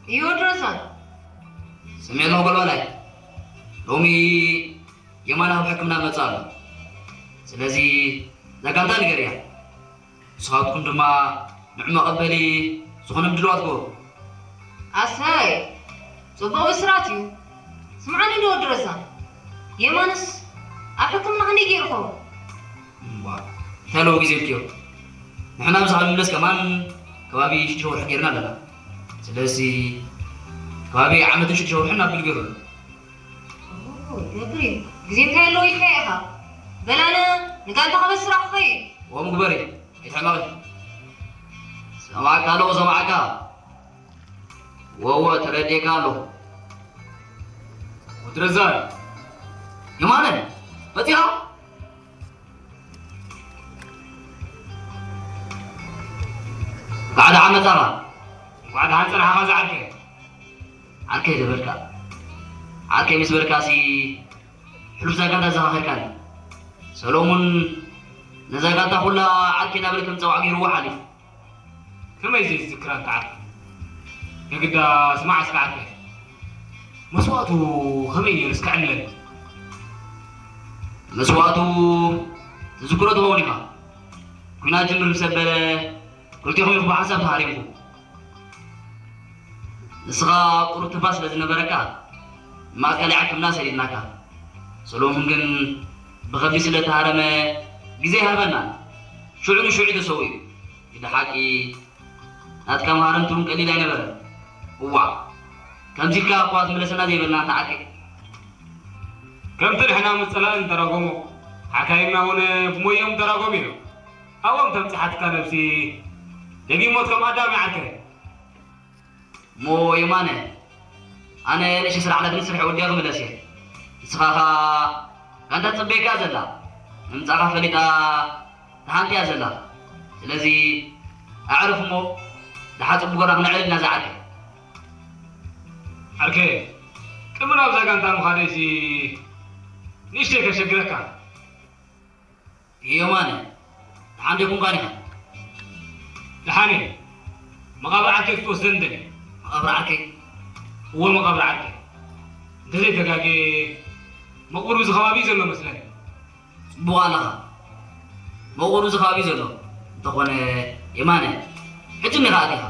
እየ ወዲ ረዛን። ስምዒ ኣለኹ ጎልባላይ። ሎሚ የማነ ኣብ ሕክምና መጽእ ኣሎ። ስለዚ እዛ ጋንታ ንገርያ። ንስኻትኩም ድማ ንዑ መቐበሊ ዝኾነ ምድልዋት ግበሩ። ኣሰይ፣ ጽቡቕ ብስራት እዩ። ስምዓኒ እንዶ ወዲ ረዛን፣ የማንስ ኣብ ሕክምና ክንደይ ገይሩ ይኸውን? እምቧ፣ እንታይ ኣለዎ ግዜ ኢልክዮ? ንሕና ብዛዕባ ምምለስ ከማን ከባቢ ሽዱሽተ ወርሒ ገይርና ኣለና። ስለዚ ከባቢ ዓመትን ሽዱሽተ ወርሕን ኣቢሉ ገይሩ ኣሎ። ኦ፣ ይገብር እዩ። ግዜ እንታይ ኣለዎ ኢልካ ኢኻ? በል ኣነ ንጋንታ ከበስራ ክኸይድ። እዎ ምግበሪ፣ ኣይትሕመቒ። ሰማዕካ ኣለኹ፣ ሰማዕካ። እዎ፣ እዎ፣ ተረዲኤካ ኣለኹ። ወዲ ረዛን። የማነ፣ መጺኻ? እንኳዕ ደሓን መጻኻ። እንኳዕ ደሓን ጸናሕኻ ዝዓርከይ። ዓርከይ ዝበልካ። ዓርከይ ምስ በልካሲ ሕሉፍ እዛ ጋንታ ዘኻኺርካኒ። ሰሎሙን ነዛ ጋንታ ኩላ ዓርከይ እናበለ ከም ዝጸውዓ ገይርዎ ሓሊፉ። ከመይ ዘይዝክራ እንተ ዓርከይ? የግዳ ስማዕ እስከ ዓርከይ። መስዋእቱ ከመይ ነይሩ እስከ ዕለኒ። መስዋእቱ ትዝክሮ ትኸውን ኢኻ። ኲናት ጅምር ምስ ኣበለ ክልቴኹም ኢኹም ብሓንሳብ ተሃሪምኩም። ንስኻ ቁሩብ ትንፋስ ስለ ዝነበረካ ማእከላይ ሕክምና ሰዲድናካ። ሰሎሙን ግን ብኸቢድ ስለ ተሃረመ ግዜ ኣይሃበናን። ሽዑ ንሽዑ እዩ ተሰዊኡ። ግደ ሓቂ ናትካ መሃረምቲ እውን ቀሊል ኣይነበረን። እዋእ፣ ከምዚ ኢልካ እኳ ትምለሰና ዘይበልና እንተ ዓርከይ። ከምቲ ንሕና ምስ ጸላእን ንተራጎሞ፣ ሓካይምና እውን ብሞይኦም ተራጎሙ እዮም። ኣብኦም ተብጽሓትካ ነብሲ ደጊም ሞት ከም ኣዳም ይዓርከይ። እሞ የማነ፣ ኣነ ንእሽተይ ስራሕ ኣለትኒ፣ ስርሐይ ወዲአ ክምለስ እየ። ንስኻ ኸኣ ጋንታ ትጽበየካ እያ ዘላ። ምምጻእካ ፈሊጣ ተሃንጥያ እያ ዘላ። ስለዚ ኣዕርፍ እሞ ደሓር ጽቡቕ ጌርና ክነዕልል ኢና ዝዓርከይ። ዓርከይ፣ ቅድሚ ናብዛ ጋንታ ምኻደይሲ ንእሽተይ ከሸግረካ። የማነ፣ ደሓን ዶ ኣይኮንካን ኢኻ? ደሓን እየ። መቓብር ዓርከይ ክትወስደኒ ደልየ። መቓብር ዓርከይ? እወ፣ መቓብር ዓርከይ። እንተዘይተጋግየ መቕብሩ እዚ ከባቢ እዩ ዘሎ መስለኒ። ጽቡቕ ኣለኻ። መቑብሩ እዚ ከባቢ እዩ ዘሎ። እንተኾነ የማነ፣ ሕጂ እኒኻ ኣቲኻ።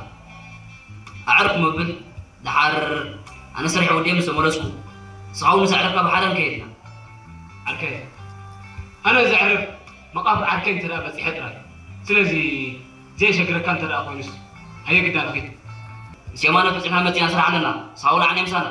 ኣዕርፍ መብል ደሓር ኣነ ስርሐይ ወዲኤ ምስ ተመለስኩ፣ ንስኻ እውን ምስ ኣዕረፍካ ብሓደ ክንከይድ ኢና። ዓርከይ፣ ኣነ ዘዕርፍ መቓብር ዓርከይ እንተ ደኣ በጺሐ ጥራይ። ስለዚ ዘየሸግረካ እንተ ደኣ ኮይኑስ፣ ሃየ ግዳ ንኺድ። ምስ የማነ በጺሕና መጺና ስራሕ ኣለና። ንስኻ ውላዕ ናይ ምሳና።